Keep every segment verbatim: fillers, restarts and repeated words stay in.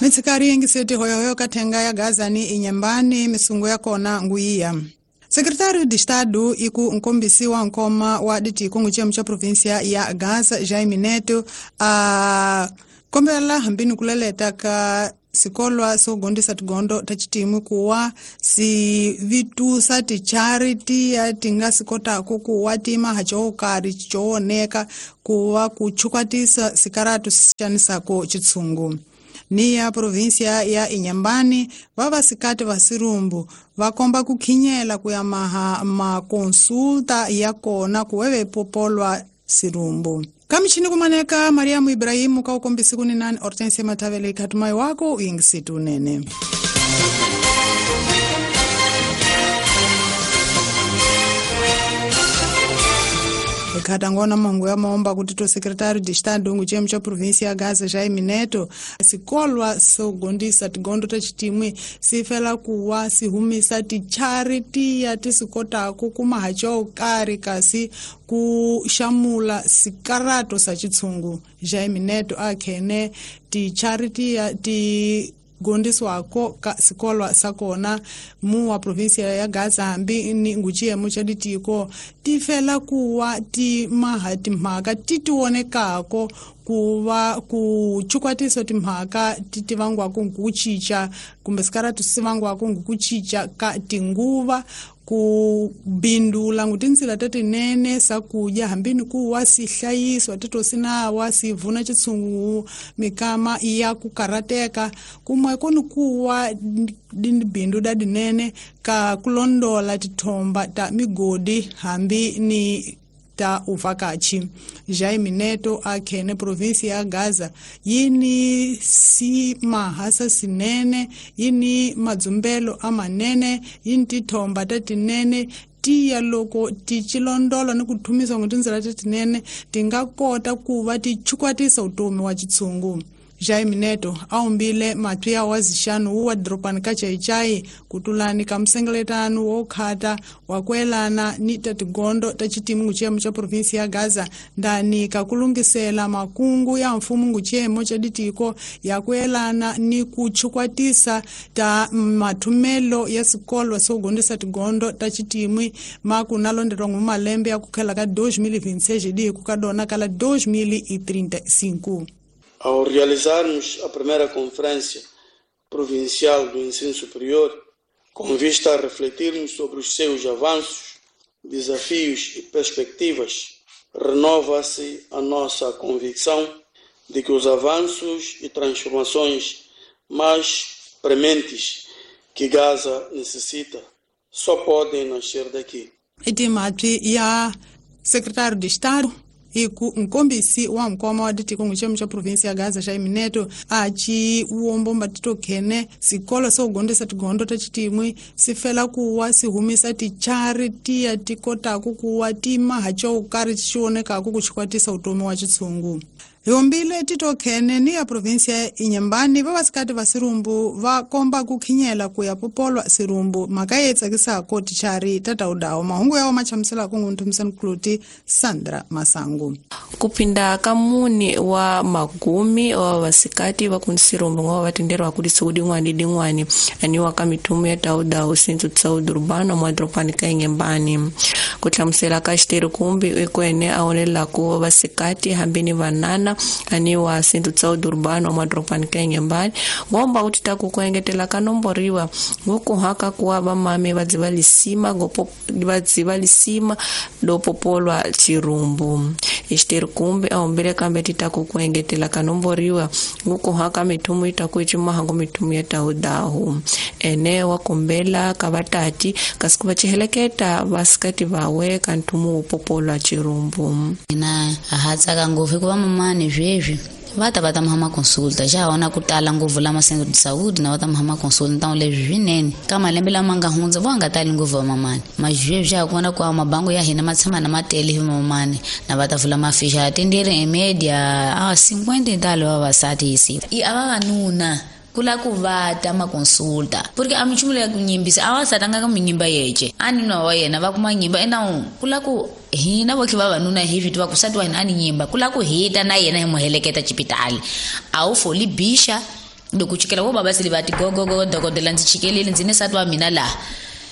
Mitsikari yengiseti hoyohoyo kathenga ya Gaza ni Inhambane misungu ya kona nguiya. Secretário de Estado iku nkombisi wa nkoma wa ditiko nguchemu cha província ya Gaza Jaime Neto a kombela hambini kuleleta ka sikolwa sogondisa tigondo tachitimu kuwa si vitusa ti charity ya tinga sikota kukuwa tima hachoukari chooneka kuwa kuchukwatisa sikaratu sichanisako chitsungu. Ni ya província ya Inhambane vavasikati va sirumbu vakomba kukhinyela kuyamaha makonsulta ya kona kuweve popolwa sirumbu. Kamichini kumaneka Mariamu Ibrahimu kaukombisi kuninani Hortensia Matavele katumai wako uyingisitu nene. Katangona mangu ya maomba kutito secretário de Estado nguchemu cha província ya Gaza Jaime Neto sikolwa sogondisa tigondo tachitimwe sifela kuwa sihumisa ti charity ya tisikota kukuma hacho kari kasi kushamula sikarato sa chitsungu. Jaime Neto akhene ti charity ya ti gondiswako ka sikolwa sakona mu wa província ya Gaza hambi ni nguchiyemo cha ditiko tifela kuwa ti maha timhaka ti tionekako kuva kuchukwatiso timhaka ti tivangwako nkuchicha kumbe sikaratu sivangwako nkuchicha ka tinguva kubindula ngutinzila tatinene sakuja hambini kuwa sihlayiswa titosinawa sivuna chitsungu mikama ya kukarateka kumwe koni kuwa bindu dadinene ka kulondola tithomba ta migodi hambi ni ta uvakachi. Jaime Neto akhene província ya Gaza yini si mahasa sinene yini madzumbelo amanene yini tithomba tatinene tiya loko tichilondola ni kuthumisa ngutinzila tatinene tingakota kuva tichukwatisa utomi wa chitsungu. Jaime Neto aumbile matwi wa zixanu wa dropani ka chaichai kutulani ka msengeletano wokhata wakwelana ni tatigondo ta chitimu nguchiyemo cha província ya Gaza ndani kakulungisela makungu ya mfumo nguchiyemo cha ditiko yakwelana ni kuchukwatisa ta mathumelo ya sikolwa sogondisa tigondo ta chitimwi makunalondelwa ngumalembe ya kukhela ka dois mil e vinte e seis di kukadona kala dois mil e trinta e cinco. Ao realizarmos a primeira Conferência Provincial do Ensino Superior, com vista a refletirmos sobre os seus avanços, desafios e perspectivas, renova-se a nossa convicção de que os avanços e transformações mais prementes que Gaza necessita só podem nascer daqui. Ya secretário de Estado iku nkombisi wa mkoma wa ditiko nguchemu cha província ya Gaza Jaime Neto achi uombomba tito khene sikolo sogondisa tigondo tachitimwi sifela kuwa sihumisa ti charity ya tikotako kuwa tima hacho ukari chionekako kuchikwatisa utomi wa chitsungu. Yombile tito khene ni ya província Inhambane vavasikati va sirumbu va komba kukhinyela kuya popolwa sirumbu maka tsakisako tichari tataudawo mahungu yawo machamusela kungunthumisani kuluti Sandra Masangu. Kupinda kamuni wa magumi wa vasikati va kunsirumbu ngwa vatenderwa kuti sikudingwani dingwani aniwa ka mithumu ya taudawo sintsu tsaudi urbano mwa dropani ka Inhambane kuthlamusela ka xiteri kumbi ekwene aonelaku vasikati hambini vanana aniwa sintsu tsaudi urbano mwa dropani ka Inhambane ngomba kuti taku kuengetela ka nomboriwa ngokuhaka kuwa vamame vadziva lisima gopo vadziva lisima lopopolwa chirumbu xiteri kumbi aombele kambe titaku kuengetela ka nomboriwa ngokuhaka mithumu itaku ichimahango mithumu ya taudahu ene wakombela ka vatati kasi ku va chiheleketa vasikati vawe ka nthumu wo popolwa chirumbu. Na ha tsaka ngopfu hikuva mamani sweswi va ta va ta mahama consulta xa hona ku tala ngopfu lama centro de saúde na va ta mahama consulta ntawu leswi swinene ka malembe lama nga hundza vo nga tali ngopfu va mamani mazweswi xa kona ku mabango ya hina ma tshama na matele hi mamani na va ta vula maficha atendere em média a cinquenta e tal vavasati hi siku i a vavanuna kula ku va ta ma consulta porque a minchumu leya ku nyimbisa a va satanga ka minyimba yece a ni nwa wa yena va kuma nyimba ena kula ku hina vo khe vavanuna hi swi tiva ku sati wa hina a ni nyimba kula ku hita na yena hi mu heleketa xipitali a wu foli bixa Loko chikela wo baba sili vati go go go dokodela ndzi chikelile ndzi ni nsati wa mina laha.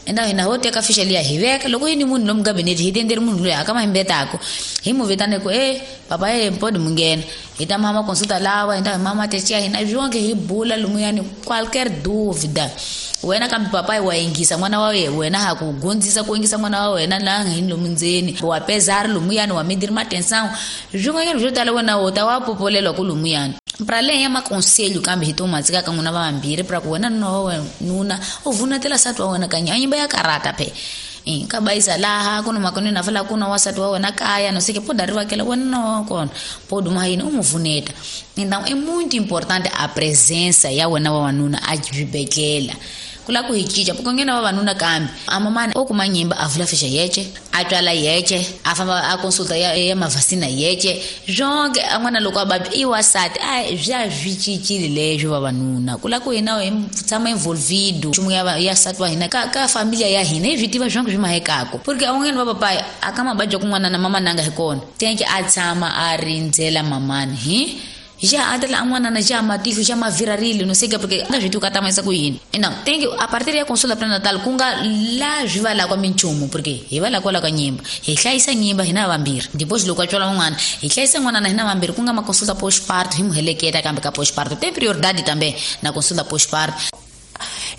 Enda hina ho teka ficha liya hi veka loko yini munhu lomu gabinete hi tenderi munhu loyi aka mahimbetako hi mu vitane ku eh papa eh mpodi munghena hi ta mama consulta lawa hi ta mama techiya hina byonke hi bula lumuyani qualquer dúvida wena kambe papai wa yingisa n'wana wa wena wena ha ku gondzisa ku yingisa n'wana wa wena laha nga hini lomu ndzeni wa pesar lumuyani wa midiri matensão swin'wanyana swo tala wena wo ta wa popolelwa ku lumuyani pra além ya maconselho kambe hi to matsika ka n'wina vambirhi pra ku wena nuna wa wena nuna u vunetela nsati wa wena kanya nyimba ya karata phe ka bayisa laha ku na makoni na fala ku na wasati wa wena kaya no sei que pode arrivar aquela wena na kona pode uma yini u mu vuneta. Então é muito importante a presença ya wena wa wanuna a xibedhlele ku lava ku hi cinca porque nghena vavanuna kambe a mamani o kuma nyimba a vula ficha yece a twala yece a famba a consulta ya, ya mavasina yece zonke a n'wana loko a vabya i wasati a bya swi cincile leswo vavanuna ku lava ku hina hi tshama involvido nchumu ya ya nsati wa hina ka ka familia ya hina hi swi tiva zonke swi mahekako porque a va papai a ka mabadya kun'wana na mama nanga hi kona tenke a tshama a rindzela mamani hi já atela n'wana na já matihlo já mavirarile no sei que porque nga swi tivi ku ta ku yini. Então tem que a partir ya consulta pré-natal ku nga la swi va la kwa minchumu porque hi va la kwala ka nyimba hi hlayisa nyimba hina vambirhi depois loko a tswala n'wana hi hlayisa n'wana na hina vambirhi ku nga ma consulta postparto hi mu heleketa kambe ka postparto tem prioridade também na consulta postparto.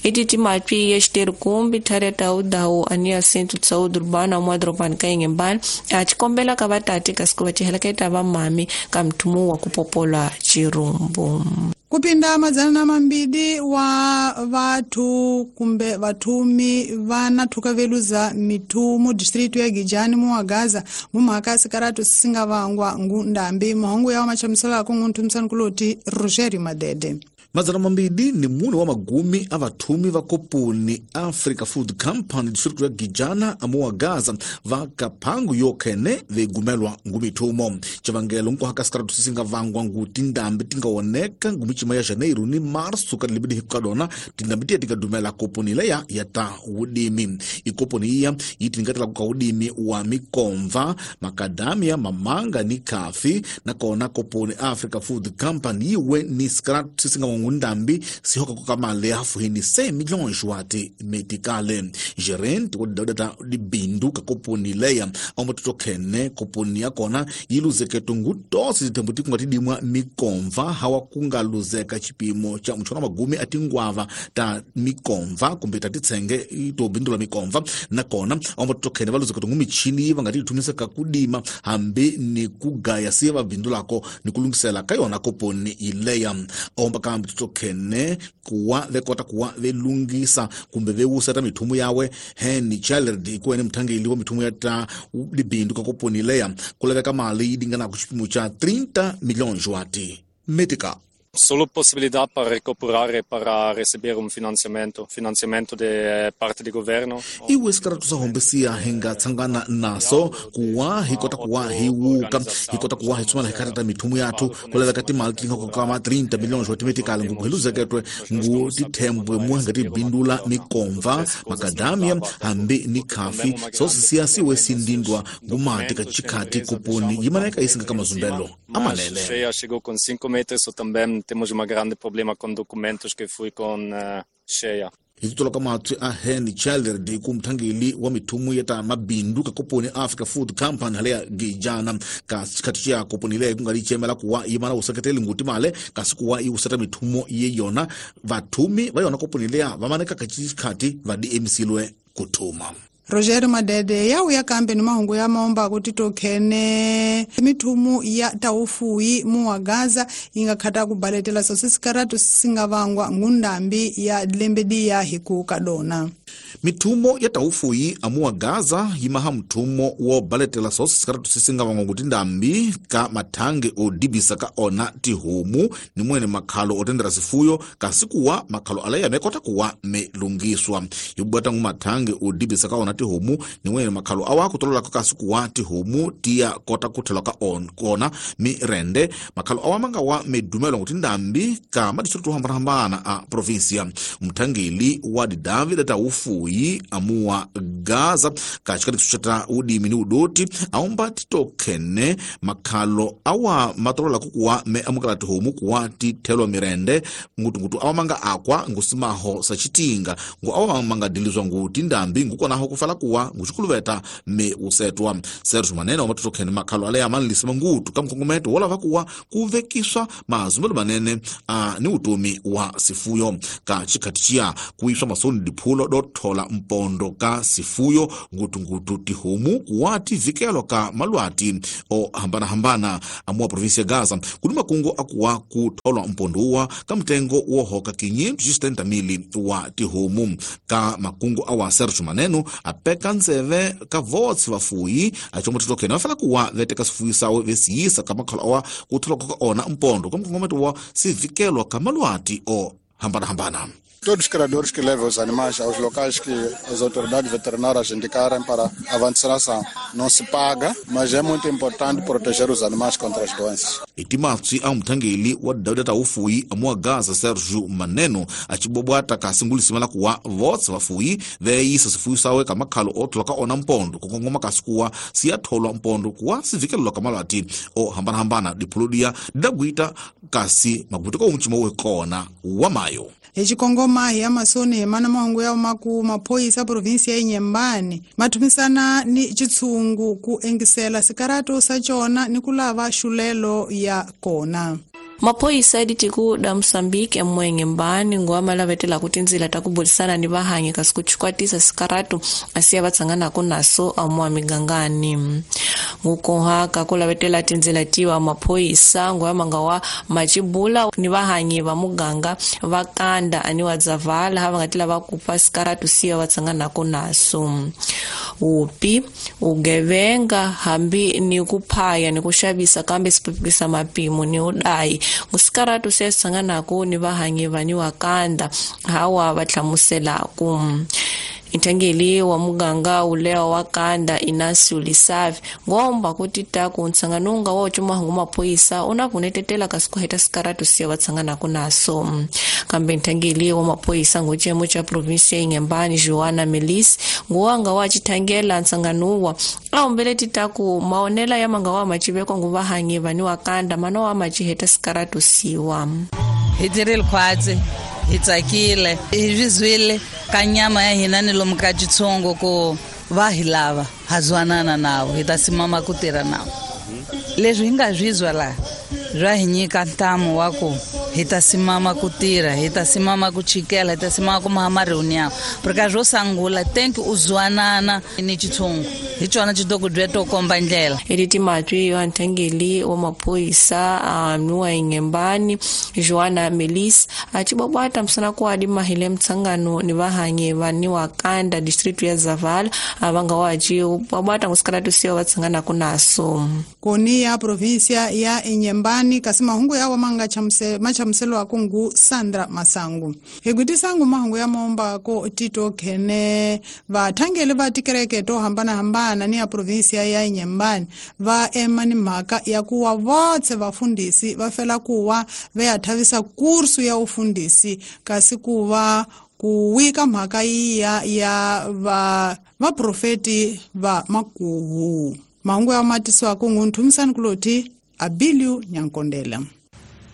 Ititi matwi ya xiterkumbi thare tawudawu ani ya Centro de Saúde Urbana mwadropani ka Inhambane a xikombela ka vatati kasi ku va ciheleketa va mami ka mthumu wa ku popola chirumbu. Kupinda madzana na mambili wa vathu kumbe vathumi va na thukaveluza mithumu distritu ya Gijani mu wa Gaza mu mhaka sikaratu singa vangwa ngundambi mahungu ya machamisela ku ngunthumisani kuloti Rogerio Madede. Madzana mambili ni mune wa magumi a vathumi va koponi Africa Food Company district ya Gijana amuwa Gaza va kaphangu yokhene vegumelwa ngumithumo civangelo nkuhaka sikaratu sisinga vangwa ngu tindambi tingawoneka ngumichima ya Janeiro ni Março ka libidi hikadona tindambi tiya tikadumela koponi leya ya ta wudimi ikoponi iya yitingatela kuka wudimi wa mikomva makadamia mamanga ni kafi na kona koponi Africa Food Company yiwe ni sikaratu sisinga ngundambi sihoka kukamale hafuhini seis milhões wati metikale gerente wa data libindu ka koponi leya aumatoto khene koponi ya kona yiluzeketo ngutosi zithembuti kungatidimwa mikomva hawa kungaluzeka chipimo cha mchona magumi atingwava ta mikomva kumbe tatitsenge itobindula mikomva na kona aumatoto khene valuzeketo ngumichini vangatithumisa kakudima hambi ni kugaya siya vabindulako ni kulungisela kayona koponi ileya aumba kambi tokhene kuwa vekota kuwa velungisa kumbe vewuseta mithumu yawe Henny Challerd ikuene mthangeli wa mithumu ya ta libindu ka koponi leya kulaveka mali yi lingana ku xipimo xa trinta milhões wati metika. Solo possibilidad para recuperar para receber un financiamento, financiamento de parte do governo. Iwe sikaratu sa hombesiya hinga tsangana naso kuwa hikota kuwa hiwuka hikota kuwa hitsumala hikarata mithumu yathu kulaveka timali tinga kukama trinta milhões wa timetikale ngu hiluzeketwe ngu tithembwe muhenga tibindula mikomva makadamia hambi ni kafi sosisiya siwe sindindwa ngumati kachikhati kuponi yimaneka isinga kamazumbelo amalele. Cheia chegou com cinco metros ou também temos um grande problema com documentos que fui com uh, cheia. Hititolo ka matwi a Henny Challerd ku mthangeli wa mithumu ya ta mabindu ka koponi Africa Food Company haleya Gijana ka xikhati xa koponi leyi ku nga licemela kuwa yimana wuseketeli nguti male kasi kuwa yi wuseta mithumo ye yona vathumi va yona koponi leya va maneka ka xikhati va diemsilwe ku thuma. Roger Madede ya uya kambe ni mahungu ya maomba kuti tokhene mithumu ya taufuyi mu wa Gaza inga khata kubaletela sosikaratu singavangwa ngundambi ya lembedi ya hikuka dona. Mithumo ya taufuyi amuwa Gaza yimaha mthumo wo baletela sosikaratu sisingavangwa kuti ndambi ka mathange odibisa ka ona tihomu ni mwene makhalo otendera sifuyo kasi kuwa makhalo alaya mekota kuwa melungiswa yibwata ngu mathange odibisa ka ona tihomu ni mwene makhalo awa kutolola kasi kuwa tihomu tiya kota kuthelwa ka on kona mirende makhalo awa manga wa medumelo kuti ndambi ka madistritu hambanahambana a provincia mthangeli wa David taufuyi vafuyi amuwa Gaza ka chikati cha udimi ni udoti aomba titokhene makhalo awa matolola kukuwa me amukala tihomu kuwa tithelwa mirende ngutungutu awa manga akwa ngusimaho sachitinga ngu awa manga dilizwa ngu tindambi ngukonaho kufala kuwa nguchikuluveta me usetwa. Sergio Maneno wa matitokhene makhalo ale amanlisima ngutu kamkongometo wala vakuwa kuvekiswa mazumbelo manene a ni utumi wa sifuyo ka chikatichia kuiswa masoni diphulo dothola mpondo ka sifuyo ngutungutu tihomu kuwa tivikelo ka malwati o hambana hambana amua provinsia Gaza kuli makungo akuwa kutholwa mpondo uwa ka mtengo wohoka kinyi sitenta mili wa tihomu ka makungo awa Sergio Maneno apeka nzeve ka votsi vafuyi achomo titokene vafala kuwa veteka sifuyi sawe vesiyisa ka makhalo awa kutholwa ka ona mpondo ka mkongometo wa sivikelwa ka malwati o hambana hambana. Todos os criadores que levam os animais aos locais que as autoridades veterinárias indicarem para a vacinação. Não se paga, mas é muito importante proteger os animais contra as doenças. Itimatsi a mthangeli wa dawda ufuyi amua Gaza Sergio Maneno achibobwata kasingulisima la kuwa votsi vafuyi veyisa sifuyi sawe ka makhalo othola ka ona mpondo kukongoma kasikuwa siyatholwa mpondo kuwa sivikelelwa ka malwati o hambana-hambana diphuludiya didagwita kasi maguti ko umchimo wekona wa mayo. Echikongoma ya masoni mana mahungu ya maku maphoyisa provinsia ya Inhambane mathumisana ni chitsungu ku engisela sikarato sa chona ni kulava xulelo ya kona. Maphoyisa editiku da Mosambike mwenge mbani ngwa malavetela kuti nzila takubulisana ni vahanyi kasi kuchikwatisa sikaratu asiya vatsanganaku naso amwa migangani. Ngukoha kakulavetela tinzila tiwa maphoyisa ngwa manga wa machibula ni vahanyi va muganga vakanda ani wa dzavala hava ngatila vakupa sikaratu siya vatsanganaku naso. Upi ugevenga hambi ni kuphaya ni kuxavisa kambe sipipikisa mapimo ni udai. Ngusikaratu sesanganaku ni vahanyi vani wakanda hawa vahlamuselaku. Ntangeli wa muganga ulewa wakanda Inacio Lisavi ngomba kuti taku ntsanganunga wa chuma hangu maphoyisa unavunetetela kasi kuheta sikaratu siya vatsanganaku naso. Kambe ntangeli wa maphoyisa nguchemo cha provinsia Inhambane Joana Melis nguwanga wa chithangela ntsanganuwa aombele titaku maonela ya manga wa machivekwa nguvahanyi vani wakanda mana wa machiheta sikaratu siwa. Hi khwatsi hi tsakile hi zwizwile ka nyama ya hina ni lomu ka chitsongo ko va hi lava ha zwanana nawo hi ta simama ku tirha nawo. Leswi hi nga zwizwa laha swa hi nyika ntamu wa ku hi ta simama ku tirha, hi ta simama ku chikela, hi ta simama ku maha ma-reunião. Porque swo sungula thank u zwanana ni chitsongo hi chona chidoko to komba ndlela. Editi matwi wa ntangeli wa maphoyisa mnuwa Inhambane Joana Melis achibwabwata msana kwadi mahile mtsangano ni vahanye vani wakanda district ya Zavala avanga wachi bwabwata ngusikaratu siwa vatsangana kunaso. Koni ya provinsia ya Inhambane kasi mahungu yawa manga chamse machamselo akungu Sandra Masangu. Hegwitisangu mahungu ya momba ko tito kene vathangeli va tikereke to hambana hambana ni ya provinsia ya Inhambane va ema ni mhaka ya kuwa votse vafundisi va fela kuwa ve thavisa kursu ya ufundisi kasi kuva kuwika mhaka iya ya va vaprofeti va makuhu. Mahungu ya matiswa kungu nthumisani kuloti Abiliu Nyankondela.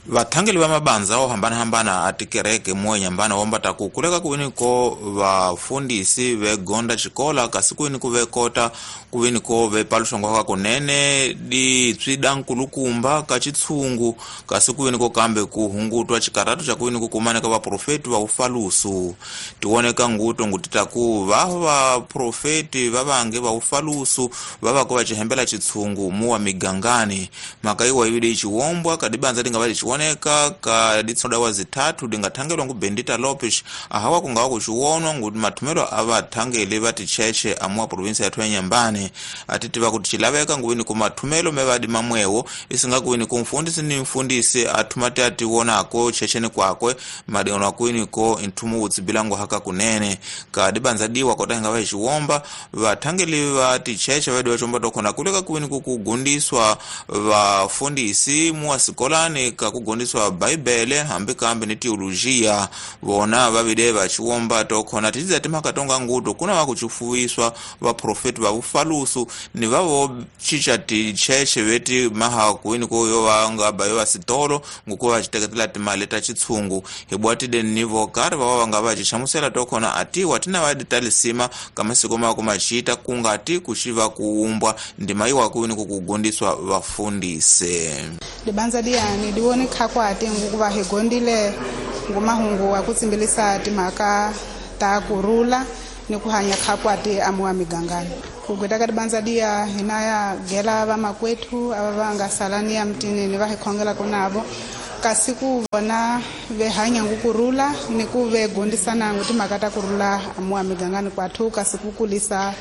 Vathangeli va mabanza wo hambana-hambana a tikereke muwe Inhambane wombata ku kuleka kuveni ko vafundisi vegonda xikola kasi kuveni ku vekota kuveni ko vepaluxongwa ka kunene ditswida nkulukumba ka chitshungu kasi kuveni ko kambe ku hungutwa xikaratu xa kuveni ku kumaneka vaprofeti va ufalusu. Tioneka nguto ngutita ku va vaprofeti va vange va ufalusu va va ko va xihembela chitshungu muwa migangani. Mhaka yiwa yivile yi xiwombwa ka dibanza dinga va oneka ka ditsoda wa zithathu dingathangelwa ngu Bendita Lopes ahawa kungawa kuxiwonwa ngu mathumelo a vathangeli va ticheche amuwa provinsia ya Inhambane atitiva kuti xilaveka nguveni ku mathumelo me vadi mamwewo isinga kuveni ku mfundisi ni mfundisi athumati ati wonako checheni kwakwe madiono akwini ko nthumu wutsibilango haka kunene ka dibanza diwa kota hinga va xiwomba vathangeli va ticheche vadi va chomba tokhona kuleka kuveni ku kugundiswa vafundisi muwa sikolani ka kugondiswa Bibele hambi kambe ni teologia vona vavide va chiwomba to khona tiza timhaka tonga nguto kuna va kuchifuwiswa vaprofeti va vufalusu ni vavo chicha ticheche veti maha kuini ko yo vanga ba yo vasitolo ngukuva vachiteketela timali ta chitshungu hibwatide ni vokari vava vanga va chichamusela to khona atiwa tina vaditalisima kamasiko mako machita kungati kuchiva kuumbwa ndima iwa kuini kukugondiswa vafundise libanza liyani liwone khakwati ngukuva higondile ngumahungu wa kutsimbilisa timhaka ta kurula ni kuhanya khakwati amuwa migangani kugweta ka libanza liya hina ya gela vamakwethu ava va nga salani ya mtini ni va hi khongelaka navo kasi ku vona vehanya ngukurula ni ku ve gondisana ngu timhaka ta kurula amuwa migangani kwathu kasi ku kulisa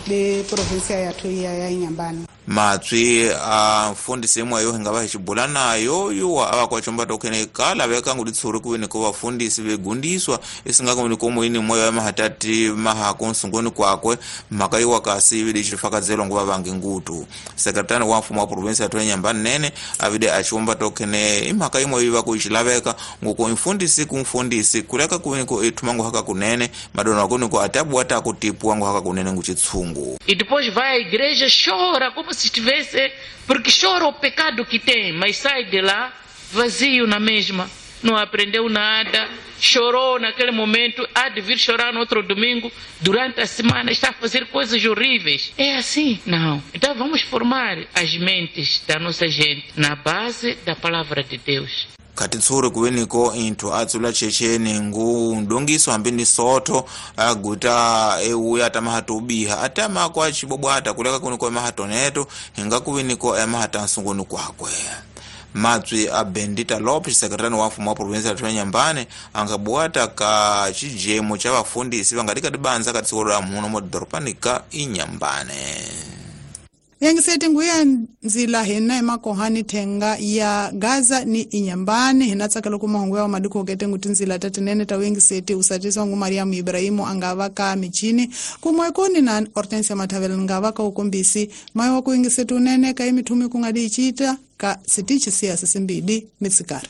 le provinsia yathu ya ya Inhambane. Matswi a mfundisi imwe yo hinga va hi xibula nayo yuwa a va kwachomba tokhene kala veka ngu litshuri kuve ni ko vafundisi vegundiswa isinga ni ko muini moyo ya mahatati maha kunsunguni kwakwe mhaka yiwa kasi ivide xifakazelwa nguva vangi ngutu sekretari wa mfumo wa provinsi ya Inhambane nene avide achiwomba tokhene imhaka imwe yiva ku xilaveka nguko mfundisi ku mfundisi kuleka kuve ni ko ithuma ngu haka kunene madona kuni ko atabuwa ta kutipuwa ngu haka kunene ngu chitshungu. E depois vai à igreja, chora como se estivesse, porque chora o pecado que tem, mas sai de lá vazio na mesma, não aprendeu nada, chorou naquele momento, há de vir chorar no outro domingo, durante a semana está a fazer coisas horríveis. É assim? Não. Então vamos formar as mentes da nossa gente na base da palavra de Deus. Katitsuri kuveniko inthu atsula checheni ngu ndongiso hambi ni soto aguta euya tamahata ubiha atama kwa chibobwata kuleka kuniko emahatoneto hinga kuveniko emahata nsunguni kwakwe. Matswi a Bendita Lopes sekretari wa mfumo wa provinsi ya Inhambane angabuata ka chijemo cha vafundisi vangatika tibanza ka tsikolo la muno modhoropani ka Inhambane. Yangiseti nguya nzila hina emakohani thenga ya Gaza ni Inhambane hina tsakelo kumahungu ya madiko kete nguti nzila tatinene ta wengiseti usatiswa ngu Mariamu Ibrahimu angava ka michini kumwekoni na Hortensia Matavela ngava ka ukombisi mayo wa kuingiseti unene ka imithumi kungadi ichita ka sitichi siya sisimbidi mitsikari.